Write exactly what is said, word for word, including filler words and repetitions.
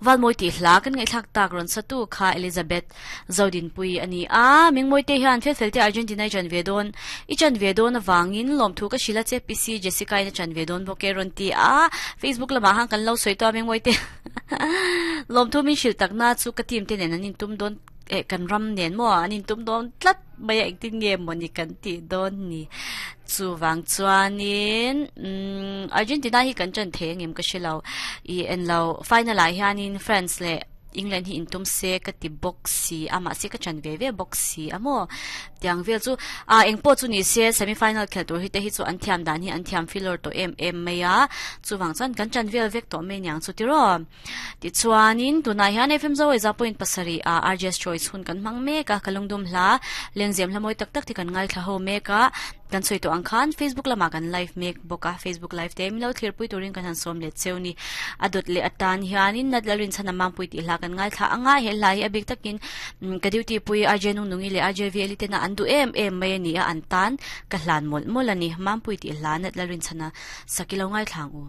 Valmoi ti hla kan ngai thlak tak ron satu kha Elizabeth Zodin pui ani a mingmoi te hian fel fel te Argentina chan ve don i chan ve don awangin lom thu ka shila che P C Jessica ina chan ve don boke ron ti a Facebook lama hang kan lo soi to mingmoi te lom thu min shil takna chu ka team te nen anin tum don e kan ram nen mo anin tum don tlat mai ek tin nge moni kan ti don ni chu wang chuanin um Argentina hi kan chan the ngem ka shilo i en lo final ai hianin France le England hi intum se ka ti box si ama se ka chan ve ve box si amo tiang vel chu a engpo chu ni se semi final khel tur hi te hi chu an thiam dan hi an thiam filor to em em maya chu wang chuan kan chan vel vek to me nyang chu ti ro ti chuanin tunai hian F M zo za point pasari a R J S choice hun kan mang me ka kalungdum hla lengzem hlamoi tak tak ti kan ngai thla ho me ka kan soi to angkhan Facebook lama kan live mek boka Facebook live te milo thlir pui turin kan han som le cheuni adot le atan hianin natlarin chana mam pui ti hla kan ngai thla anga he lai abik takin ka duty pui R J nung nungi le R J V L te na andu em em mai ani a an tan ka hlan mol mol ani mam pui ti hla natlarin chana sakilo ngai thlang u.